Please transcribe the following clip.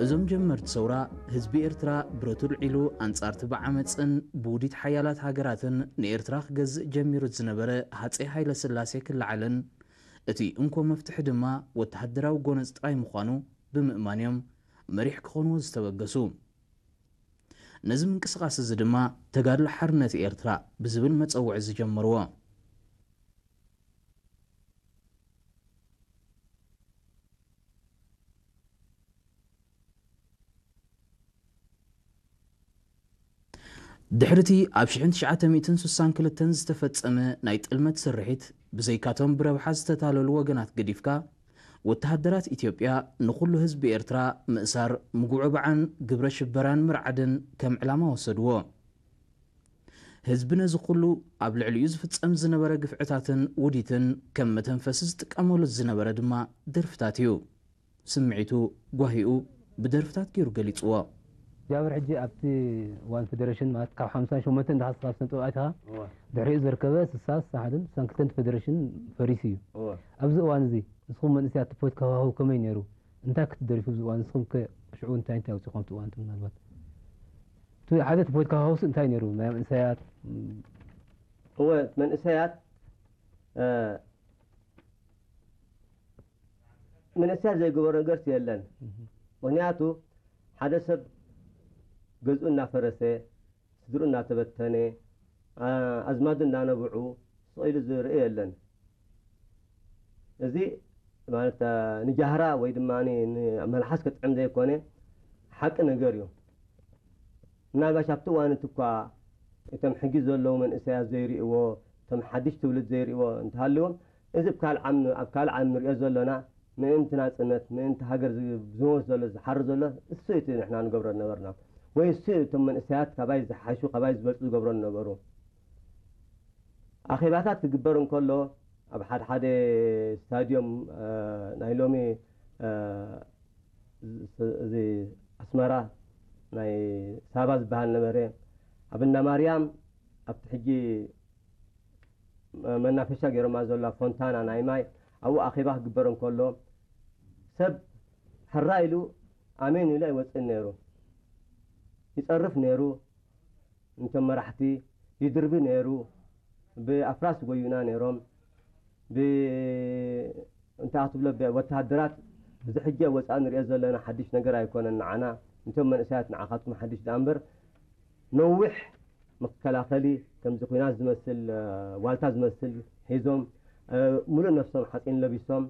እዞም ጀመርቲ ሰውራ፣ ህዝቢ ኤርትራ ብረቱ ኣልዒሉ ኣንጻርቲ ብዓመጽን ብውዲት ሓያላት ሃገራትን ንኤርትራ ክገዝእ ጀሚሩ ዝነበረ ሃጸይ ሃይለ ስላሴ ክለዓልን፣ እቲ እንኮ መፍትሒ ድማ ወተሃደራዊ ጎነጽ ጥራይ ምዃኑ ብምእማን እዮም መሪሕ ክኾንዎ ዝተበገሱ። ነዚ ምንቅስቓስ እዚ ድማ ተጋድሎ ሓርነት ኤርትራ ብዝብል መጸውዒ ዝጀመርዎ። ድሕሪ እቲ ኣብ ሽሕን ትሽዓተ ሚእትን ስሳን ክልተን ዝተፈጸመ ናይ ጥልመት ስርሒት፣ ብዘይካቶም ብረብሓ ዝተታለሉ ወገናት ገዲፍካ፣ ወተሃደራት ኢትዮጵያ ንኹሉ ህዝቢ ኤርትራ ምእሳር፣ ምጉዕባዕን ግብረ ሽበራን ምርዓድን ከም ዕላማ ወሰድዎ። ህዝቢ ነዚ ኩሉ ኣብ ልዕሊኡ ዝፍጸም ዝነበረ ግፍዕታትን ውዲትን ከም መተንፈሲ ዝጥቀመሉ ዝነበረ ድማ ደርፍታት እዩ። ስምዒቱ፣ ጓሂኡ ብደርፍታት ገይሩ ገሊጽዎ። ጃብር ሕጂ ኣብቲ እዋን ፌደሬሽን ማለት ካብ ሓምሳን ሸሞንተን እንዳሓስብ ኣብ ስነ ጥበብ ኣቲኻ እወ። ድሕሪኡ ዝርከበ ስሳ፣ ስሳ ሓደን ስሳን ክልተን ፌደሬሽን ፈሪሱ እዩ። እወ። ኣብዚ እዋን እዚ ንስኹም መንእሰያት እቲ ፖለቲካዊ ሃዋህው ከመይ ነይሩ? እንታይ ክትደርፉ ኣብዚ እዋን? ንስኹም ከ ሽዑ እንታይ እንታይ ኣውጺኹም ኣብቲ እዋን እቲ ምናልባት? እቲ ሓደ እቲ ፖለቲካዊ ሃዋህውስ እንታይ ነይሩ? ናይ መንእሰያት? እወ፣ መንእሰያት፣ እ፣ መንእሰያት ዘይገበሮ ነገርስ የለን። እህ። ምኽንያቱ ሓደ ሰብ ገዝኡ እናፈረሰ፣ ስድርኡ እናተበተነ፣ ኣ-፣ ኣዝማዱ እናነብዑ ስቕ ኢሉ ዝርኢ የለን። እዚ ማለት፣ ኣ፣ ንጃህራ ወይ ድማ ን-፣ መልሓስ ክጥዕም ዘይኮነ ሓቂ ነገር እዩ። ምናልባሽ ኣብቲ እዋን እቲ እኳ እቶም ሕጂ ዘለዉ መንእሰያት ዘይርእይዎ፣ እቶም ሓድሽ ትውልድ ዘይርእይዎ እንተሃልዎም፣ እዚ ኣብ ካልእ ዓም-፣ ኣብ ካልእ ዓለም ንሪኦ ዘሎና ምእንቲ ናጽነት፣ ምእንቲ ሃገር ዝ-፣ ዝሞት ዘሎ፣ ዝሓሪ ዘሎ፣ እሱ እቲ ንሕና ንገብሮ ዝነበርና። ወይ እሱ እቶም መንእሰያት ካባይ ዝሓሹ፣ ካባይ ዝበልጹ ዝገብሮ ዝነበሩ። ኣኼባታት ክግበር እንከሎ፣ ኣብ ሓደ ሓደ ስታድዮም፣ እ፣ ናይ ሎሚ፣ እ፣ ዝ-፣ እዚ ኣስመራ ናይ ሳባ ዝበሃል ነበረ። ኣብ እንዳ ማርያም፣ ኣብቲ ሕጂ መናፈሻ ገይሮማ ዘላ ፎንታና ናይ ማይ፣ ኣብኡ ኣኼባ ክግበር እንከሎ፣ ሰብ ሕራ ኢሉ ኣሜን ኢሉ ኣይወጽእን ነይሩ። ይጸርፍ ነይሩ። ነቶም መራሕቲ ይድርቢ ነይሩ። ብኣፍራስ ይጎዩና ነይሮም። ብ-፣ እንታይ ክትብሎ፣ ብ-፣ ወተሃደራት፣ እዚ ሕጂ ኣብ ወጻኢ ንሪኦ ዘለና ሓድሽ ነገር ኣይኮነን ንዓና። ነቶም መንእሰያት ንዓኻትኩም ሓድሽ ደኣ እምበር፣ ነዊሕ መከላኸሊ፣ ከምዚ ኲናት ዝመስል፣ እ፣ ዋልታ ዝመስል ሒዞም፣ እ፣ ሙሉእ ነፍሶም ሓጺን ለቢሶም፣